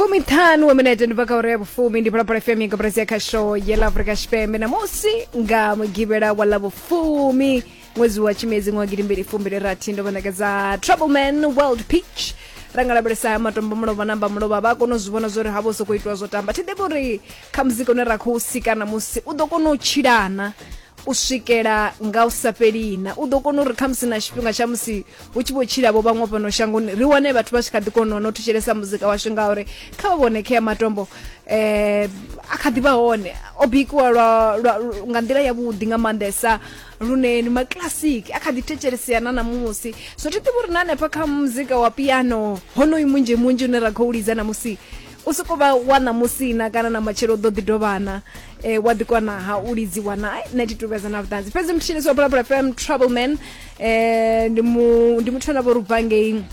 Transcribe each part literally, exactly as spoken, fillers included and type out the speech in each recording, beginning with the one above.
Fumiṱhanu wa minete ndi bva kha uri ya vhufumi ndi Phalaphala F M ya koporasi ya khasho ya ḽa Afrika Tshipembe namusi nga mugivhela wa ḽa vhufumi ṅwedzi wa tshimedzi ṅwaha gidimbili fumbili rathi ndo vha ṋekedza Troubleman World Pitch ra nga lavhelesa matombo mulovha namba mulovha vha kona u zwi vhona zwori havho sokou itiwa zwo tamba thi ḓivhi uri kha muzika une ra khou sika namusi u ḓo kona u tshilana u swikela nga u sa fhelina u ḓo kona uri khamusi na tshifhinga tsha musi hu tshi vho tshila vho vhaṅwe fhano shangoni ri wane vhathu vha tshi kha ḓi kona no thetshelesa muzika washu ngauri kha vha vhone khea matombo eh a kha ḓi vha hone o bikiwa lwa, lwa, nga nḓila ya vhuḓi nga maanḓesa lune ndi maclassic a kha ḓi thetshelesea na namusi so thi ḓivhi uri na hanefha kha muzika wa piano honoyu munzhi munzhi une ra khou lidza namusi u soko vha wa ṋamusi na kana na matshelo u ḓo ḓi dovhana eh, wa ḓi kona ha u lidziwa na ai nṋe thi tu vhesa na vhuṱanzi fhedzi mthetshelesi wa Phalaphala F M Troubleman eh, ndi mu ndi muthu ane a vha uri u bva ngei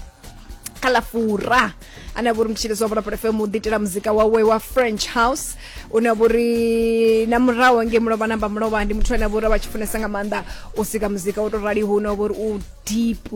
kha ḽa Fura ane a vha uri mthetshelesi wa Phalaphala F M u ḓiitela muzika wawe wa French house une a vha uri na murahu ngei mulovha namba mulovha ndi muthu ane a vha uri vha tshi funesa nga maanḓa u sika muzika wo to raliho une wa vha uri u deep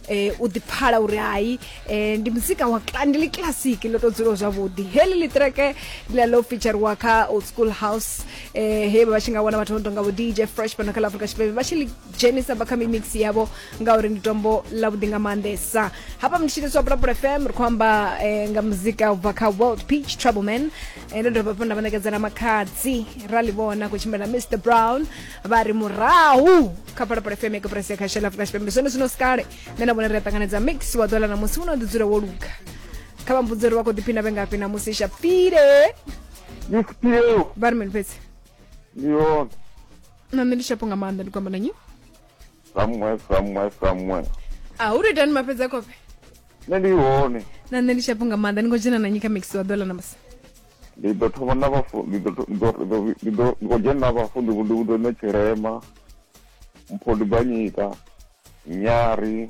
eh, u ḓi pfala uri hai eh, ndi muzika wa cla- ndi ḽi classic ḽo to dzulaho zwavhuḓi heḽi ḽiṱireke ndi ḽa ḽo featurewa kha Old School House eh, he vha tshi nga wana vhathu vho no tonga vho D J Fresh fhano kha ḽa Afrika Tshipembe vha tshi ḽi dzhenisa vha kha mimix yavho ngauri ndi tombo ḽavhuḓi nga maanḓesa hafha mthetshelesi wa Phalaphala F M ri khou amba eh, nga muzika u bva kha World Peach Troubleman eh, ndo dovha hafhu nda vha ṋekedza na makhadzi ra ḽi vhona khou tshimbila na Mister Brown vha ri murahu kha Phalaphala F M ya koporasi ya khasho ya ḽa Afrika Tshipembe zwone zwino sikale nṋe na vhone ri a ṱanganedza mix wa ḓuvha ḽa ṋamusi une wa ḓi dzula wo luga kha vha mbudze uri vha khou ḓiphina vhe ngafhi ṋamusi shapfile Ngifhiyo vha ri mini fhedzi ndi hone na nṋe ndi shapo nga maanḓa ndi khou amba na nnyi somewhere somewhere somewhere a hu to itani mafhedza khofhe nṋe ndi hone na nṋe ndi shapo nga maanḓa ni khou dzhena na nnyi kha mix wa ḓuvha ḽa ṋamusi ndi ḓo thoma na vhafu ndi ḓo ndi ḓo ndi ḓo ndi khou dzhena na vhafu ndi ndi ḓo ṋe tshirema mpho ndi banyika nyari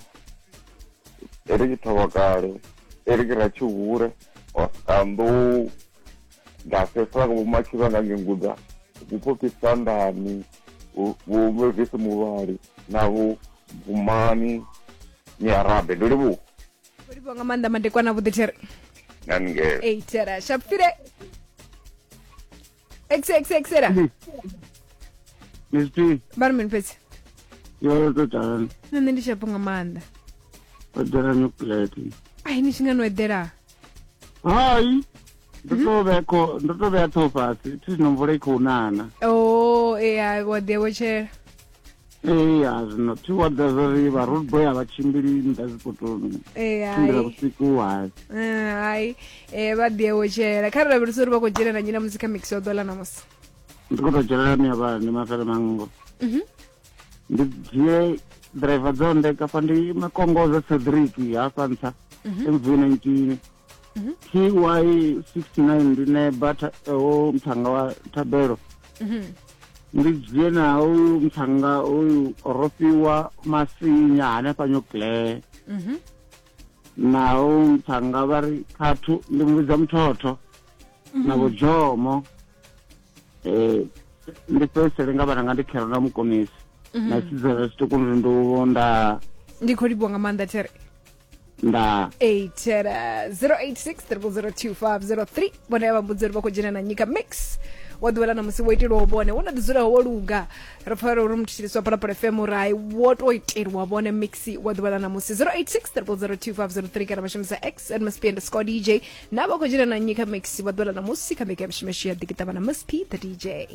Eric Thovhakale Eric Ratshihure Oscar Ndafesa vho Matshivha nga Ngenguda vho Phophi Sandani vho Mavis Muvhali na vho Vumani Nyarabe ndo livhuwa khou livhuwa nga maanḓa madekwana vhuḓi there na ningelo ei thera shapfile x x x era Miss P, vha ri mini fhedzi yo to tala na nṋe ndi shapo nga maanḓa o dela nuclear. ai ni tshi nga no eḓela Hai, ndo to vhea kho ndo to vhea ṱhoho fhasi thi zwino mvula i khou nana. o ea wa ḓi awetshela Ee, zwino thi wa ḓa zwori vha road boy a vha tshimbili nnḓa zwipotoni. ee Tshimbila hai vhusiku hai. Eh, hai eh vha ḓi awetshela kha ri lavhelese uri vha khou dzhena na nnyi ṋamusi kha mix wa ḓuvha ḽa ṋamusi Ndi khou tou dzhenela miavha ndi mafhele mango. Mhm. Ndi dzhie driver dzo ndeka fa ndi makongoza Cedric hafha nṱha M V nineteen. T Y sixty-nine ndi neba o muthanga wa Thabelo. Mhm. Ndi dzhie na uyu muthanga uyu rofhiwa Masinya hanefha New Mhm. na uyu muthanga vha ri khathu ndi muvhidza Muthotho na vho Jomo eh ndi fhedzisele nga vhana nga ndi khero na mukonisi na tshidzela zwiṱuku ndi ndo nda ndi khou livhuwa nga maanḓa there nda eight zero eight six triple zero two five zero three vhone vha mbudza uri vha khou dzhena na nyika mix wa ḓuvha ḽa ṋamusi wo itelwaho vhone wo no ḓi dzulaho wo luga ri pfa uri muthetshelesi wa Phalaphala F M uri hai wo to itelwa vhone mix wa ḓuvha ḽa ṋamusi zero eight six triple zero two five zero three kana vha shumisa x at Miss P underscore D J na vha khou dzhena na nyika mix wa ḓuvha ḽa ṋamusi kha mbekanyamushumo ya ḓikiṱavha na Miss P the D J.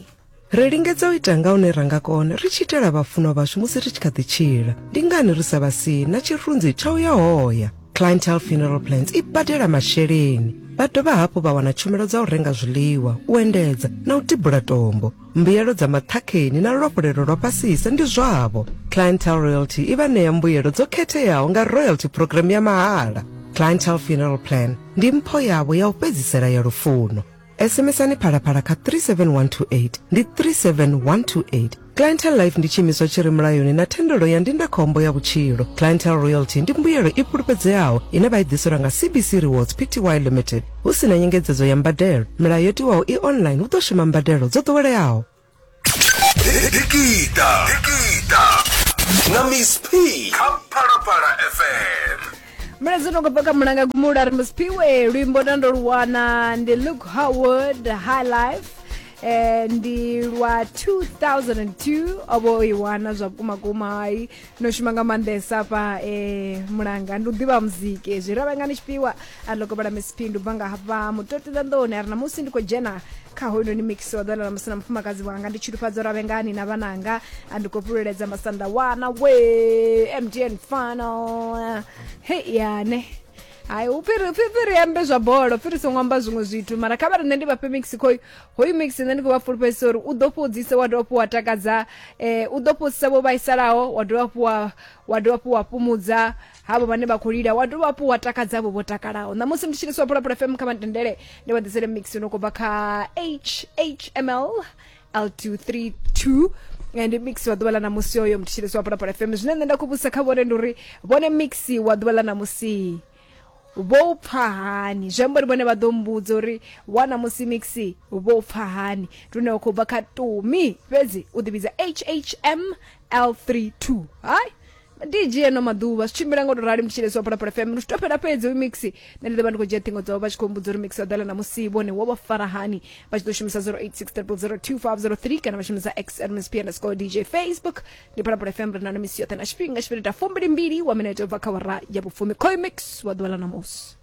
Ri lingedza u ita nga hune ra nga kona ri tshi itela vhafunwa vhashu musi ri tshi kha ḓi tshila. Ndi ngani ri sa vha sii na tshirunzi tsha u ya hoya? Clientele Funeral Plans i badela masheleni. Vha dovha hafhu vha wana tshumelo dza u renga zwiḽiwa, u endedza na u tibula tombo. Mbuyelo dza maṱhakheni na luafhulelo lwa fhasisa ndi zwavho. Clientele Royalty i vha ṋea mbuyelo dzo khetheaho nga royalty program ya mahala. Clientele Funeral Plan ndi mpho yavho ya u fhedzisela ya lufuno. S M S ani Phalaphala kha three seven one two eight ndi three seven one two eight. Clientele Life ndi tshiimiswa tshi re mulayoni na thendelo ya ndindakhombo ya vhutshilo. Clientele Royalty ndi mbuyelo i fhulufhedzeaho ine vha i ḓiselwa nga C B C Rewards P T Y Limited hu si na nyengedzedzo ya mbadelo. Milayo yo tiwaho i online hu ḓo shuma mbadelo dzo ḓoweleaho. Dikita Dikita na Miss P kha Phalaphala F M. Mulaedza no khou bva kha Mulanga Gumula ri Musiphiwe luimbo nda ndo lu wana ndi Luke Howard High Life, eh, ndi lwa two thousand two o vho i wana zwa vhukuma kuma. Hai, no shuma nga maanḓesa afha, eh, Mulanga ndi u ḓivha muziki zwi ra vhangani tshifhiwa a ḽo kovhela Misiphi. Ndi u bva nga hafha Mutoti Ḓanḓoni a ri namusi ndi khou dzhena kha hoyunoni mix wa ḓuvha ḽa ṋamusi na mufumakadzi wanga, ndi tshilufhadzo Ravhengani na vhananga, a ndi khou fhululedza Masanda wana we M T N final. Hei yane hai, upfi upfi ri ambe zwa bola, upfi ri songo amba zwiṅwe zwithu, mara kha vha ri nṋe ndi vhafhe mix khoyu hoyu mix nṋe ndi khou vha fulufhedzisa uri u ḓo fhudzisa wa dovha hafhu wa takadza, eh, u ḓo fhudzisa vho vhaisalaho, wa dovha hafhu wa wa dovha hafhu wa fhumudza havho vhane vha khou lila, wa dovha hafhu wa takadza havho vho takalaho. Ṋamusi ndi tshilisiwa Phalaphala F M, kha vha ntendele ndi vha ḓisele mix no khou bva kha H H M L L two three two, ndi mix wa ḓuvha ḽa ṋamusi oyo mthetshelesi wa Phalaphala F M. Zwine nṋe nda khou vhudzisa kha vhone ndi uri vhone mix wa ḓuvha ḽa ṋamusi vho pfa hani, zwi amba uri vhone vha ḓo mbudza uri wa ṋamusi mix vho pfa hani. Ndi une wa khou bva kha Tumi, fhedzi u ḓivhidza H H M L three two. Hai D J eno maḓuvha zwi tshimbila ngo to rali mthetshelesi wa Phalaphala F M, ndi to fhela fhedzi uyu mix. Nṋe ndi ḓo vha ndi khou dzhia ṱhingo dzavho vha tshi khou mbudza uri mix wa ḓala ṋamusi vhone wo vha fara hani. Vha tshi ḓo shumisa zero eight six triple zero two five zero three kana vha shumisa X at M S P underscore D J. Facebook ndi Phalaphala F M, ri na misi yoṱhe na tshifhinga tshifhingita fumbili mbili wa minete ubva kha wara ya vhufumi. Khoyu mix wa ḓuvha ḽa ṋamusi.